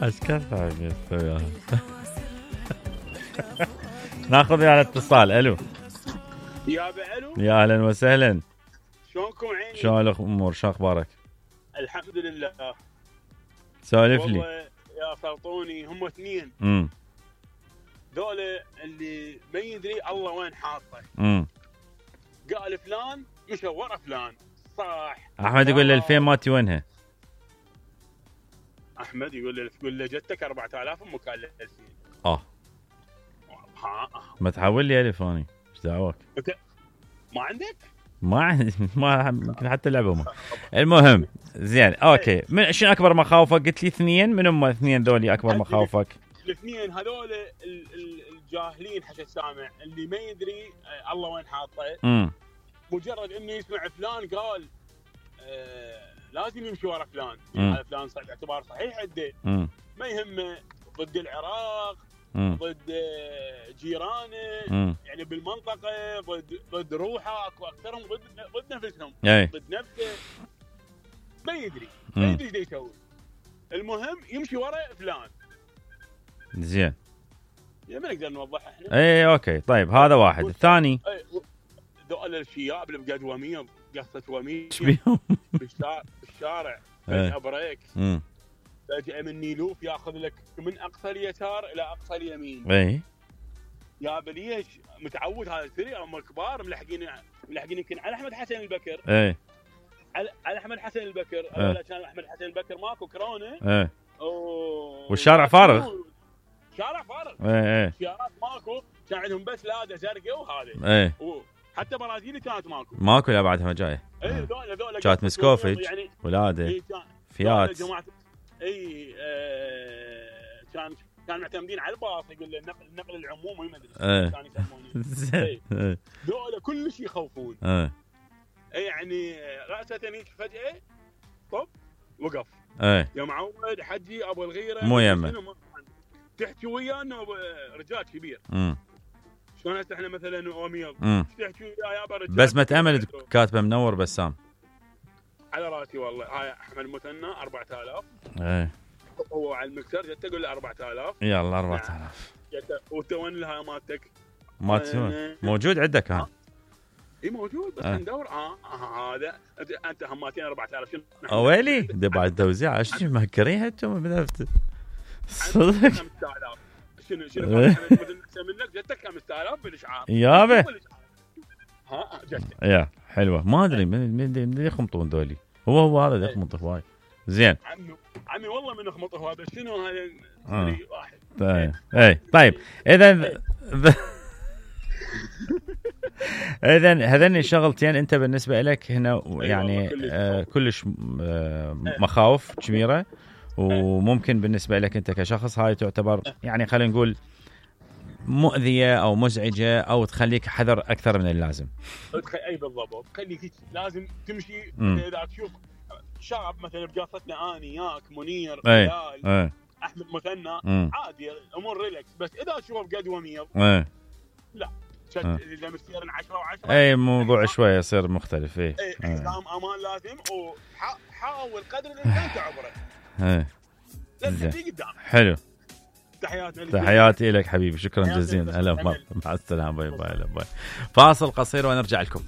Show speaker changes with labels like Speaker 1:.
Speaker 1: اشكال ثانيه وياها. ناخذ على اتصال. الو
Speaker 2: يا الو،
Speaker 1: يا اهلا وسهلا.
Speaker 2: شلونكم عيني؟
Speaker 1: شلون الامور؟ شو اخبارك؟
Speaker 2: الحمد لله.
Speaker 1: سولف لي.
Speaker 2: والله يا فرطوني هم اثنين ذولا اللي ما يدري الله وين حاطه. قال فلان مشى ورا فلان صح.
Speaker 1: احمد يقول له الفين ماتي وينها؟
Speaker 2: احمد يقول له جتك 4000 امك قال له 2000.
Speaker 1: ما تحول لي الف اني ايش دعوك؟
Speaker 2: ما عندك؟
Speaker 1: ما عندي، ما يمكن حتى لعبه ما. المهم زين اوكي. من شنو اكبر مخاوفك؟ قلت لي اثنين. من هم اثنين ذولي اكبر مخاوفك؟
Speaker 2: الاثنين هذول الجاهلين حتى السامع اللي ما يدري الله وين حاطه. مجرد انه يسمع فلان قال لازم يمشي ورا فلان. هذا فلان صحيح اعتبار صحيح عنده، ما يهمه ضد العراق، ضد جيرانه، يعني بالمنطقه، ضد روحه، اكو اكثرهم ضد نفسهم، ضد نفسه. ما يدري ايش يسوي. المهم يمشي ورا فلان.
Speaker 1: زين
Speaker 2: يا ما نقدر نوضح احنا.
Speaker 1: اي اوكي طيب هذا واحد. الثاني
Speaker 2: ذول الشياب اللي بقد وميض قصه وميض
Speaker 1: ايش بيهم؟
Speaker 2: بالشارع فجأة بريك، فجأة من نيلوف ياخذ لك من اقصى اليسار الى اقصى اليمين. يا بليش متعود هذا السريع. هم الكبار ملحقين يمكن على احمد حسن البكر. على احمد حسن البكر. كان احمد حسن البكر ماكو كورونا.
Speaker 1: والشارع فارغ.
Speaker 2: شارع فارغ. سيارات ماكو، كان عندهم بس لاده زرقاء وهذا. حتى برازيلي كانت ماكو
Speaker 1: لا بعدها جايه.
Speaker 2: ذولا
Speaker 1: كانت مسكوفج يعني ولاده فيات.
Speaker 2: كان معتمدين على الباص. يقول له النقل العمومي ما ادري كان يسمونه. ذولا كل شيء يخوفون. يعني راسه هيك فجاه طب وقف. يا معود حجي ابو الغيره
Speaker 1: مو يمه
Speaker 2: تحكي ويانا رجال كبير. شلون هسه احنا مثلا اوميض تحكي يا ابا رجال
Speaker 1: بس متامل كاتبه منور بسام
Speaker 2: على راسي والله. هاي احمد مثنى 4000. هو على المكسر جت تقول له 4000.
Speaker 1: يلا 4000
Speaker 2: وانت وين لها مالتك؟
Speaker 1: موجود عندك كان؟
Speaker 2: اي موجود بس ندور. هذا انت هماتين 4000 شنو؟
Speaker 1: ويلي ده بعد توزيع. ايش مهكريها انتم بدافت صدق؟
Speaker 2: 5000 شنو احسن منك؟ جتك 5000 بالاشعار
Speaker 1: يابا.
Speaker 2: جتك
Speaker 1: يا حلوه. ما ادري من يخمطون ذولي. هو هذا يخمط هواي. زين
Speaker 2: عمي والله من يخمط هو بس شنو هذا واحد.
Speaker 1: طيب اذا هذين الشغلتين انت بالنسبه لك هنا يعني كلش مخاوف كبيره. وممكن بالنسبه لك انت كشخص هاي تعتبر يعني خلينا نقول مؤذيه او مزعجه او تخليك حذر اكثر من اللازم.
Speaker 2: اي بالضبط. تخليك لازم تمشي. اذا تشوف شاب مثلا بقصتنا اني ياك منير بلال احمد مثنى عادي الامور ريلاكس. بس اذا تشوفه بقد وميض لا اذا مسيرن 10 و10
Speaker 1: اي موضوع شويه يصير مختلف.
Speaker 2: حزام امان لازم. وحاول قدر الامكان تعبره. لا تجي قدام.
Speaker 1: حلو.
Speaker 2: تحياتي
Speaker 1: لك حبيبي. شكرا جزيلا. هلا مع السلامه. باي باي. فاصل قصير ونرجع لكم.